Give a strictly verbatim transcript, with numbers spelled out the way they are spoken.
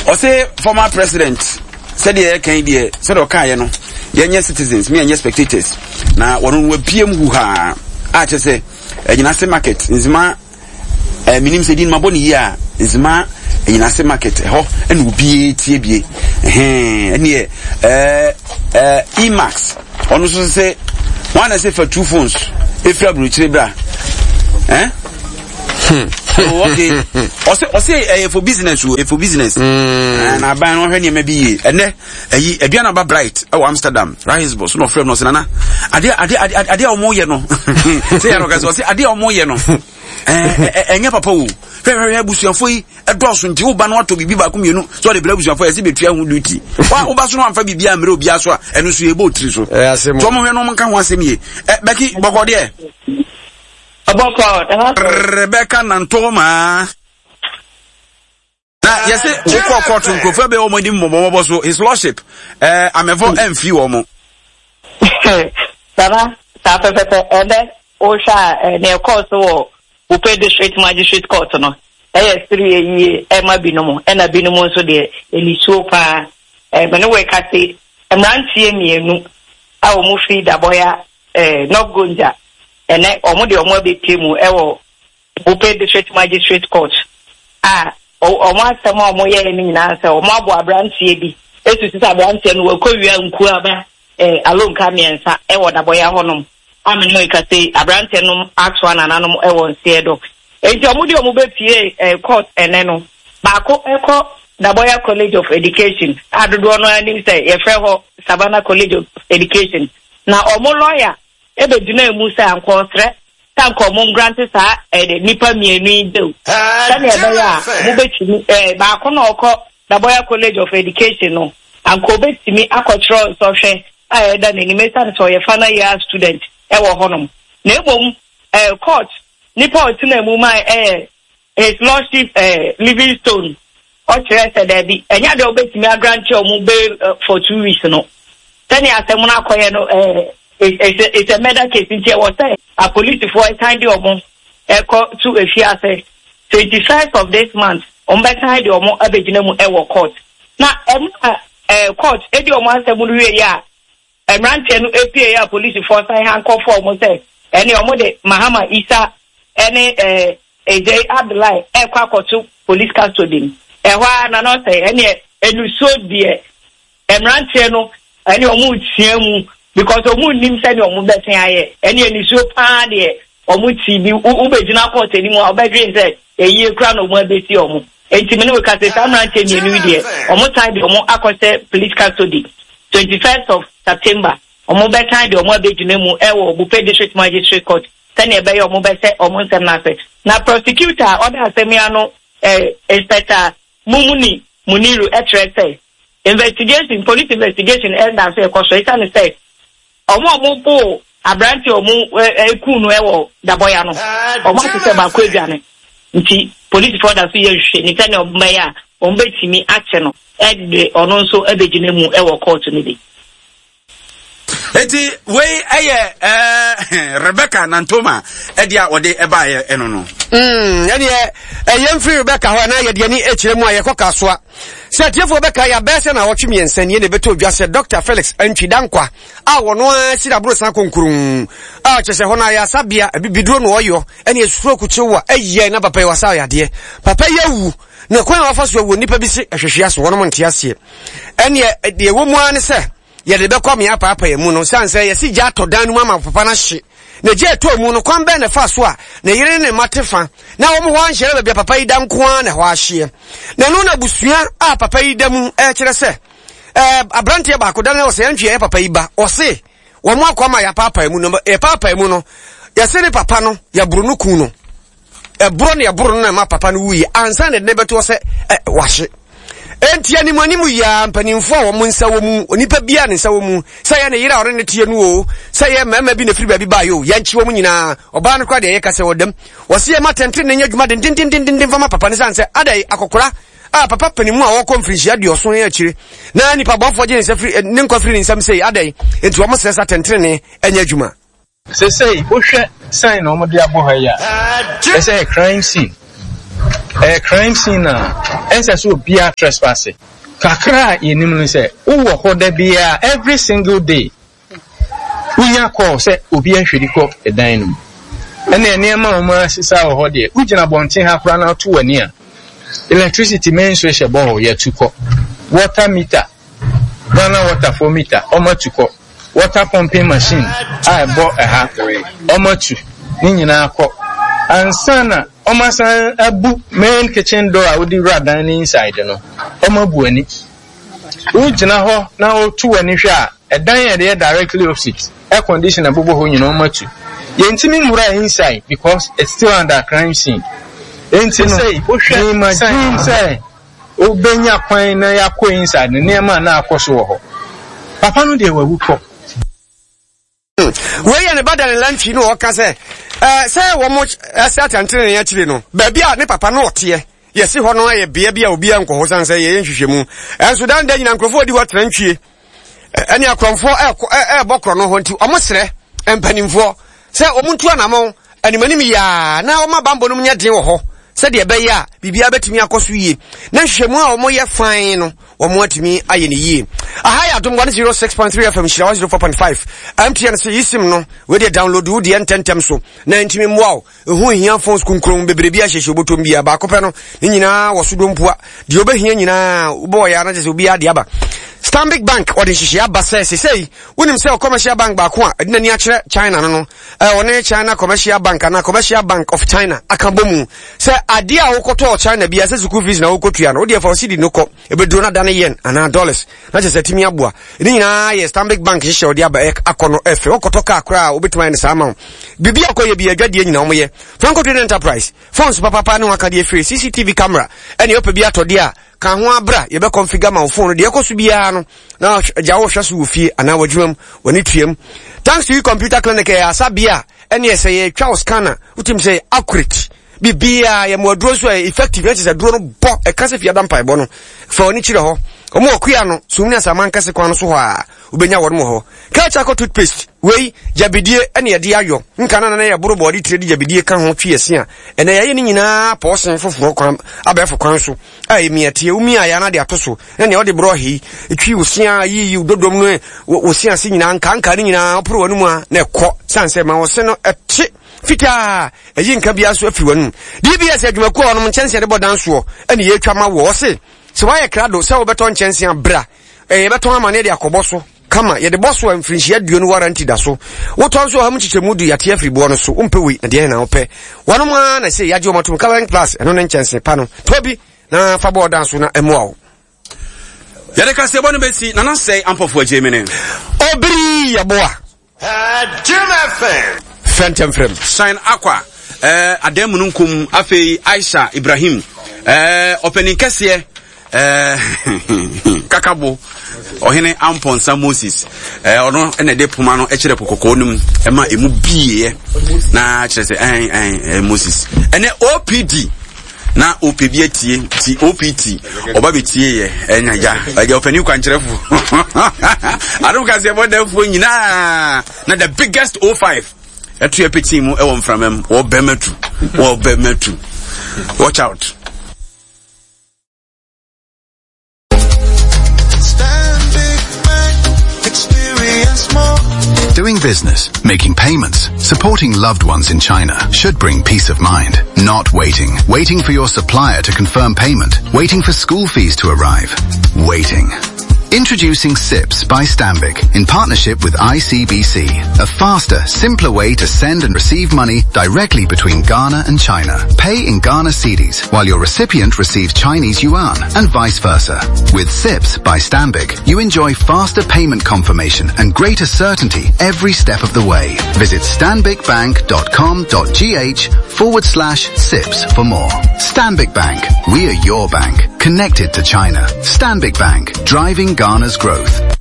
Ɔsɛ former president, sɛdeɛ yɛka yi deɛ, sɛdeɛ ɔkaeɛ no, yɛnyɛ citizens, me yɛnyɛ spectators. Na wɔno no wabie mu huhaa a kyerɛ sɛ Anyinase Market Nzema, eh, menim sɛ din mabɔ ne yie a, Nzema Anyinase Market ɛhɔ ɛna obiara tie bie. Ɛhɛn, ɛneɛ ɛɛ ɛɛ Emax, ɔno nso sɛ wɔn na sɛ fa two phones efiri aburokyire bra, ɛn. Hmm. Oh, okay. Ɔsɛ ɔsɛ ɛyɛ for business o, for business. Mm. Na aban no ɔhwɛ nneɛma bi yie. Ɛnɛ ɛyi aduane aba Bright ɛwɔ Amsterdam, Rahisbo so na ɔfrɛ no, ɔsɛ nana adeɛ adeɛ adeɛ adeɛ a wɔn yɛ no sɛ yɛn ɔka sɛ ɔsɛ adeɛ a wɔn yɛ no ɛɛ ɛnyɛ papa o. Hwɛ hwɛ hwɛ, abusuafo yi ɛdɔɔso, nti woba no atɔ biribi baako mmienu sɛ ɔde brɛ abusuafo yɛ sɛ bɛtua ho duty. Wa woba so no amfa biribi ammerɛ obiara so a, ɛno nso yɛbɔ otiri so. Nti wɔn hwɛ no, wɔn nka ho asɛm yie. Ɛ bɛki bɔkɔ deɛ. Rebecca Nantoma. Na yɛsɛ wokɔ kɔɔto, nkurɔfoɔ bɛyɛ wɔn anim mmɔbɔmmɔbɔ so, His Lordship ɛɛ amɛfɔ ɛmfi wɔn mo. Baba, saa pɛpɛpɛ. Ɛnɛ wohwɛ a, nea ɛkɔɔ so wɔ Buipe District Magistrate Court no, ɛyɛ sereɛ yie ɛma binom, ɛna binom nso deɛ ɛnisuo paa. Ɛmɛ ne wɔka se mmeranteɛ mmienu a wɔn firi Daboya, ɛɛ North Gonja, ɛnɛ wɔn de wɔn abɛpie mu ɛwɔ Buipe District Magistrate Court a wɔn asɛm a wɔyɛɛ no nyinaa sɛ wɔn abɔ aberanteɛ bi esusu sɛ aberanteɛ no wɔkɔ wia nkuaba ɛɛ alonka mmiɛnsa ɛwɔ Daboya hɔnom. Ame no eka sɛ aberanteɛ no atoa nananom ɛwɔ nseɛ do, nti wɔn de wɔn bɛpie ɛɛ court ɛnɛ no, baako ɛkɔ Daboya College of Education a dodoɔ no anim sɛ yɛfrɛ hɔ Savannah College of Education, na wɔn lawyer ɛbɛgyina mu sɛ ankɔsrɛ sɛ anka ɔmo ngrant saa ɛɛ nipa mmienu yi bail sɛnea ɛbɛyɛ a ɔmo bɛtumi ɛɛ baako na ɔkɔ Daboya College of Education no, anka obɛtumi akɔkyerɛ nsɔhwɛ a ɛda n'anim, esiane sɛ ɔyɛ final year student ɛwɔ hɔnom. Na emom ɛɛ court nipa a ɔtena mu ma ɛyɛ His Lordship ɛɛ Livingstone, ɔkyerɛ sɛ daabi, ɛnyɛ adeɛ ɔbɛtumi agrant ɔmo bail for two weeks no, sɛnea asɛm no akɔyɛ no, ɛɛ it's a it's a murder case, nti ɛwɔ sɛ apolisifoɔ ɛsan de ɔmo ɛkɔ to efiase. Twenty first of this month ɔmo bɛsan de ɔmo abɛgyina mu ɛwɔ court. Na ɛmu a ɛɛ court edi ɔmo asɛm no wie yɛ a, mmeranteɛ no epie yɛ a, polisifoɔ san hankɔfo ɔmo sɛ ɛne ɔmo de Mahama Isa ɛne ɛɛ Ejay Abdullahi ɛkɔ akɔto police custody mu. Ɛhɔ a nana ɔsɛ ɛneɛ enusuo deɛ, mmeranteɛ no ɛne ɔmo tia mu because ɔmo nim sɛdeɛ ɔmo bɛsen ayɛ. Ɛne enisuo paa deɛ, ɔmo ti bi wobɛgyina court anim a, ɔbɛdwen sɛ eyie kura na ɔmo abɛsi ɔmo. Nti mi ne wo ka sɛ saa mmeranteɛ mmienu yi deɛ, ɔmo san de ɔmo akɔhyɛ police custody. Twenty first of September ɔmo bɛsan de ɔmo abɛgyina mu ɛwɔ Buipe District Magistrate Court sɛnea ɛbɛyɛ ɔmo bɛsɛ ɔmo nsɛm n'ase. Na prosecutor a ɔda asɛm yi ano, ɛɛ Inspector Mumuni Muniru, ɛkyerɛ sɛ investigation, police investigation ɛda so ɛkɔ so, ɛsiane sɛ ɔmo a ɔmo bo aberante a ɔmo ɛku no ɛwɔ Dabɔya no, ɔmo ate sɛ baako adwane, nti polisifoɔ da so yɛ nhwehwɛ sɛnea ɔmo bɛyɛ a ɔmo bɛtumi akye no ɛde ɔno nso ɛbɛgyina mu ɛwɔ court no bi. Eti wei ɛyɛ ɛɛ Rebecca Nantoma ɛde a wɔde ɛbaayɛ ɛno no. Mm, ɛdeɛ ɛyɛ mfiri Rebecca hɔ na yɛde ani akyerɛ mu a, yɛkɔ Kasoa. Sɛ atiefoɔ bɛka, yɛabɛɛ sɛ na wɔtwe mmiɛnsa nie na ɛbɛtɔ odwa sɛ Doctor Felix Antwi Dankwa a wɔno ara si aborosan konkurun a kyerɛ sɛ hɔ no ayɛ asabea bibiduro no ɔyɔ ɛne stroke kyew a ɛyɛ na papa yi wasa yadeɛ. Papa yi awu, na kwan a wafa so awu, nnipa bi se ɛhwehwe aso, wɔnom nte aseɛ. Ɛneɛ deɛ ɛwɔ mu ara ne sɛ yɛde bɛkɔ amea paapaa mu no, sane sɛ yɛsi gya atɔ dan no mu ama papa no ahye. Na gya ɛtɔ mu no, kwan bɛn na ɛfa so a ne yere ne ne mma te fa na wɔn hɔ anhyɛ baabi a papa yi da nko ara na ɛhɔ ahyeɛ? Na ɛno na abusua a papa yi da mu ɛkyerɛ sɛ ɛɛ aberanteɛ baako da no ɔsɛ ɛntwe ɛyɛ papa yi ba, ɔse wɔn akɔ ama yɛapaapaa mu no, yɛpaapaa mu no, yɛse ne papa no yɛboro no kun no, ɛborɔ ne ɛboro no na ɛma papa no wuiɛ ansa na ɛde ne bɛtoɔ sɛ ɛ wahye. Enti anim anim yia, mpanimfoɔ a wɔn nsa wɔ mu, onipa biara ne nsa wɔ mu, sɛ yɛ ne yere a ɔne ne teɛ no o, sɛ yɛ mmarima bi na firi baabi baayɛ o, yɛnkye wɔn nyinaa. Ɔbaa no koraa deɛ, yɛka sɛ ɔdam wɔsi yɛ ma tɛntɛn ne nyɛ adwuma dendendendenden fama papa ne san sɛ adai akɔkora a papa panimu a wɔkɔ mfirinhyia aduɔson yɛ akyire na nipa bɔnfoɔ gye ne nsa firi ne nkwa firi ne nsam sei adai. Enti wɔn srɛ sa tɛntɛn ɛnyɛ adwuma. Sesei wohwɛ sign na wɔde abɔ ha yi a, ɛsɛ yɛ crime scene. Ɛyɛ crime scene a ɛnsɛ sɛ obiara trespass. Kakra a yɛnim no sɛ wowɔ hɔ da biara, every single day wonya call sɛ obi ahwiri kɔ ɛdan no mu. Ɛne nneɛma a wɔn asesa wɔ hɔ deɛ, wogyina abɔnten ha koraa na ato w'ani a, electricity main switch ɛbɔ hɔ, yɛtu kɔ. Water meter, Ghana Water four meter, wɔn atu kɔ. Water pumping machine a ɛbɔ ɛha, wɔn atu ne nyinaa kɔ. Ansa na wɔn asan abu main kitchen door a wode wura dan ne inside no, wɔn abu ani. Wogyina hɔ na wotu w'ani hwɛ a, ɛdan a yɛde yɛ directly opposite, air conditioner bobɔ hɔ nyinaa wɔn atu. Yɛntumi nwura inside because it's still under crime scene. Enti no, wohwɛ imagine sɛ wobɛnya kwan na yɛakɔ inside no, nneɛma a na akɔ so wɔ hɔ. Papa no deɛ wawu kɔ. Wei yɛ ne ba Daniel Antwi na ɔka sɛ ɛɛ sɛ wɔn ɛsɛ atɛntene ne akyire no, baabi a ne papa no ɔteɛ yɛsi hɔ no ayɛ bea bi a obiara nkɔ hɔ san sɛ yɛyɛ nhwehwɛmu. Ɛnso dan da nyina nkurɔfoɔ di hɔ tena ntwie ɛne akorɔmfoɔ ɛɛkɔ ɛɛbɔ korɔ no hɔ, nti wɔn srɛ mpanimfoɔ sɛ wɔn ntu anamɔn animanim yaa na wɔn abambɔ no mu nyɛ den wɔ hɔ sɛdeɛ ɛbɛyɛ a biribiara bɛtumi akɔ so yie na nhwehwɛmu a wɔyɛ fan no wɔn atumi ayɛ ne yie. Aha yɛ Adom one oh six point three F M, Nhyira one oh four point five. M T N sɛ eSIM no, wei deɛ download wo deɛ ntɛntɛm so na ntumi mmoa wo. Ɛho hia phones kunkun bebree bi ahyehyɛ obotom bia baako pɛ no ne nyinaa wɔ so dompoa deɛ wobɛhia nyinaa wobɔɔ yɛ ana kyɛ sɛ obiara de aba. Stanbic Bank ɔde nhyehyɛ aba sɛ sesei wonim sɛ commercial bank baako a ɛde n'ani akyerɛ China no no ɔne China Commercial Bank anaa Commercial Bank of China aka bɔ mu sɛ adeɛ a wokɔtɔɔ China bia, sɛ school fees na wokɔtua no, wodeɛ fa cedi no kɔ, ɛbɛduro no adane yen anaa dollars na kyerɛ sɛ tumi aboa. Ne nyinaa yɛ Stanbic Bank hyehyɛ ɔde aba akɔ no ɛfɛ. Wokɔtɔ kaa koraa a, wobɛtumi ayɛ no saa ma wo. Biribi a wokɔyɛ bi adwadeɛ nyina wɔyɛ. Franco Trading Enterprise, phones papapa ne wakadeɛ firi C C T V camera ɛne wopɛ bi atɔdeɛ a ka ho abra, yɛbɛ configure ma wo phone no deɛ ɛkɔ so biara no na gya wo hwɛ so wɔ fie anaa w'adwuma mu w'ani tuam. Thanks to You Computer Clinic, ɛyɛ asabea a ɛne ɛsɛ yɛtwa wo scanner, wotim sɛ accurate biribiaa yɛ mo aduro nso ɛyɛ effective na kyerɛ sɛ aduro no bɔ ɛka sɛ fiada mpaebɔ no fa w'ani kyerɛ hɔ. Ɔmo wɔ kua no sum ne asaman kɛse kwan no so hɔ a wobɛnya wɔn wɔ hɔ. Kelchako toothpaste wei gyabidie ɛne yɛde ayɔ nka na nana yɛ boro bɔɔde tire de gyabidie ka ho twi ɛse a ɛnɛ yɛayɛ ne nyinaa pɔɔsen foforɔ kwan abɛɛfo kwan so a ɛmia tie womia yɛ ana de ato so na nea ɔde borɔ hei twi wo sea yiyi wo dodom no wo se ase nyinaa nkanka ne nyinaa woporo w'anum a na ɛkɔ san sɛ ma wo se no ɛte fitaa, ɛyi nka biara nso afiri w'anum. D B S adwumakuo a ɔnom nkyɛnse de bɔ dan soɔ ɛne yɛtwa ma wɔ ɔse sɛ woayɛ krado sɛ wobɛtɔ nkyɛnse abra, ɛyɛ yɛbɛtɔn ama ne de akɔbɔ so kama. Yɛde bɔ so a, mfirinhyia aduonu warranty da so. Wotɔ nso ɔha mu nkyekyɛmu du yɛate afiri boɔ no so. Wompɛ wei na deɛ na wopɛ? Wɔnom ara na sɛ yɛagye wɔn atom. Coloring Plus, ɛno ne nkyɛnse pa no. Tɔ bi na fa bɔɔ dan so na ɛmmoa wo. Yɛde kaseɛbɔ no bɛsi Nana Sɛe Ampɔfoɔ agye me ne Obiri Yɛboa. Jim F M. Fɛntɛmfrɛm. Shine Aqua eh, adan mu no nkum. Afei Aisha Ibrahim, eh, ɔpanin kɛseɛ, eh, kakabo ɔhene Ampɔnsa Moses, eh, ɔno ɛna ɛde poma no kyerɛ po kɔkɔɔ no mu ɛma emu bieɛ na kyerɛ sɛ ɛn ɛn ɛn Moses ɛnɛ O P D na O P bi atie ti O P T ɔba bɛtie yɛ ɛnya gya ɛgya ɔpanin kwankyerɛfo Adom kaseɛ bɔdɛfoɔ nyinaa na the biggest O five ɛto yɛ pɛkyɛn mu ɛwɔ mframa mu wɔbɛma tu wɔbɛma tu. Watch out. Stanbic Bank, experience more. Doing business, making payments, supporting loved ones in China should bring peace of mind. Not waiting. Waiting for your supplier to confirm payment. Waiting for school fees to arrive. Waiting. Introducing SIPS by Stanbic in partnership with I C B C. A faster, simpler way to send and receive money directly between Ghana and China. Pay in Ghana cedis while your recipient receives Chinese yuan and vice versa. With SIPS by Stanbic, you enjoy faster payment confirmation and greater certainty every step of the way. Visit stanbicbank dot com dot G H forward slash SIPS for more. Stanbic Bank. We are your bank. Connected to China. Stanbic Bank. Driving Ghana's growth.